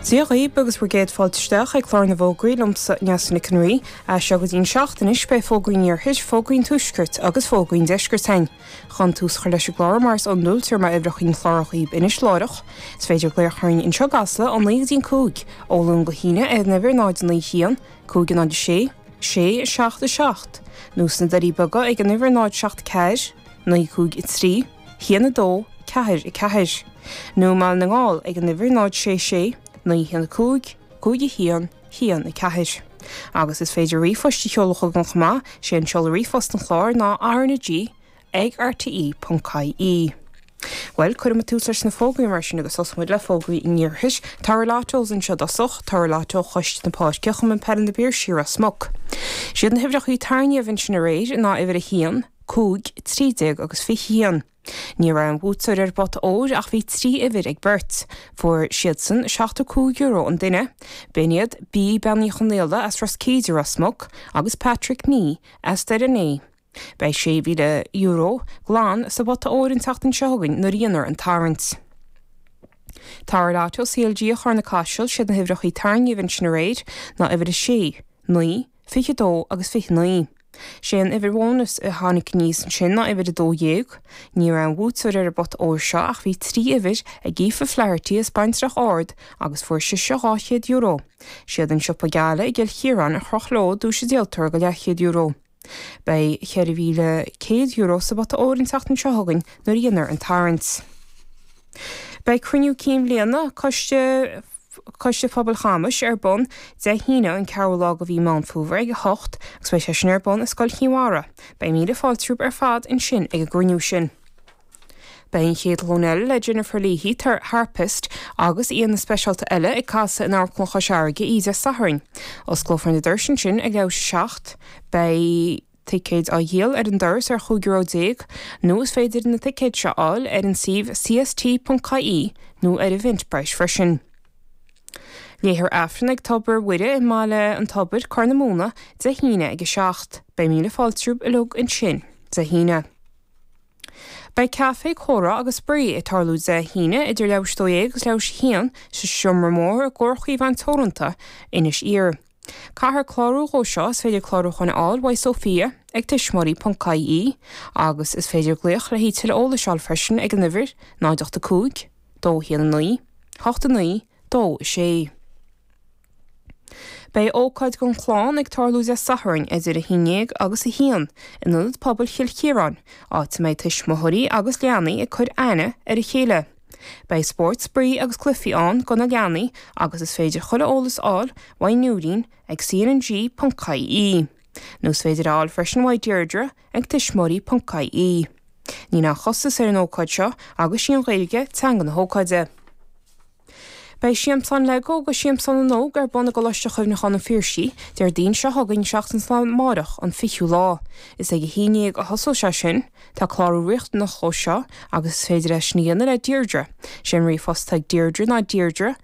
Dia dhaoib agus bhur gcéad fáilte isteach ag clár na bhfógraí liomsa, Neasa Nic an Rí. As seo go dtí an 7 anois beidh fógraí an iarthair, fógraí an tuaiscirt agus fógraí an deiscirt againn. Chun tús a chur leis an gclár mar is iondúil tabharfaidh mé uimhreacha an chláir dhaoib anois láithreach. Is féidir glaoch orainn anseo i gCasla ó 9 go dtí an 5, ó Luan go hAoine ar an uimhir 0 9 1 5 0 6 6 7 7 nó sna Doirí Beaga ag an uimhir 0 7 4 9 5 3 1 2 4 4, nó i mBaile na nGall ag an uimhir 0 6 6 9 1 5 5 1 1 4. Agus is féidir ríomhphost a sheoladh chugainn chomh maith, sé an seoladh ríomhphost an chláir ná rnag ag rte.ie. Bhuel, cuirfidh muid tús leis na fógraí mar sin agus tosóidh muid le fógraí an iarthair. Toradh Lottos anseo i dtosach, Toradh Lotto Choiste na Páirce, Chumann Peile na bPiarsaigh, Ros Muc. Siad na huimhreacha tarraingíodh ansin aréir ná uimhir 1, 5, 13 agus 21. Ní raibh aon bhuaiteoir ar an bpota óir ach bhí 3 uimhir ag beirt. Fuair siadsan €75 an duine. B'in iad B. Bean Uí Chonaola as Ros Cíde, Ros Muc, agus Patrick Nee as Doire an Fhéich. Beidh €6,000 glan sa bpota óir an tseachtain seo chugainn nuair a dhéanfar an tarraingt. Toradh Lotto CLG Charna Caiseal, siad na huimhreacha tarraingíodh ansin aréir ná uimhir 6, 9, 22 agus 29. Sé an uimhir bhónais a tháinig aníos ansin ná uimhir 12. Ní raibh aon bhuaiteoir ar an bpota óir seo ach bhí 3 uimhir ag Aoife Flaherty as Baintreach Ard agus fuair sise €200. Siad an Siopa Geala i gCill Chiaráin a chroch leo duais an díoltóra go leathchéad euro. Beidh €4,100 sa bpota óir an tseachtain seo chugainn nuair a dhéanfar an tarraingt. Beidh cruinniú cinn bhliana Coiste Coiste Pobail Chamais ar bun Dé hAoine an 4ú lá de mhí Meán Fómhair ag 8 agus beidh sé sin ar bun i Scoil Chinn Mhara. Beidh míle fáilte romhaibh ar fad ansin ag an gcruinniú sin. Beidh an chéad ghlúin eile le Jennifer Leahy, harpist, agus aíonna speisialta eile ag casadh in Amharclann Chois Fharraige oíche Dé Sathairn. Osclófar na doirse ansin ag leathuair tar éis a 7. Beidh ticéid á dhíol ar an doras ar €15 euro nó is féidir na ticéid seo a fháil ar an suíomh cst.ie nó ar Eventbrite freisin. Léifear Aifreann ag Tobar Mhuire i mBaile an Tobair, Corr na Móna, Dé hAoine ag 7. Beidh míle fáilte romhaibh uilig ansin Dé hAoine. Beidh caife, comhrá agus spraoi ag tarlú Dé hAoine idir leathuair tar éis 12 agus leathuair tar éis 1 sa Seomra Mór i gComharchumann Teoranta, Inis Oírr. Caithfear clárú dhó seo, is féidir clárúcháin a fháil uaidh Sophia ag tuismitheoirí.ie agus is féidir glaoch le haghaidh tuilleadh eolais a fháil freisin ag an uimhir 0 8 5 2 1 9 8 9 2 6. Beidh ócáid don chlann ag tarlú Dé Sathairn idir 11 agus 1 in Ionad Pobail Chill Chiaráin, áit a mbeidh tuismitheoirí agus leanaí ag cur aithne ar a chéile. Beidh spórt, spraoi agus cluichí ann do na leanaí agus is féidir chuile eolas a fháil uaidh Nóirín ag cnng.ie. Nó is féidir a fháil freisin uaidh Deirdre ag tuismitheoirí.ie. Níl aon chostas ar an ócáid seo agus sí an Ghaeilge teanga na hócáide. Beidh Siamsán Lego agus Siamsán na nÓg ar bun i gColáiste Chuimhneacháin an Phiarsaigh, Déardaoin seo chugainn, seachtain is lá amárach, an 20ú lá. Is ag 11 a thosós sé sin. Tá clárú riachtanach dhó seo agus is féidir é sin a dhéanamh le Deirdre. Sé an ríomhphost atá ag Deirdre ná deirdre.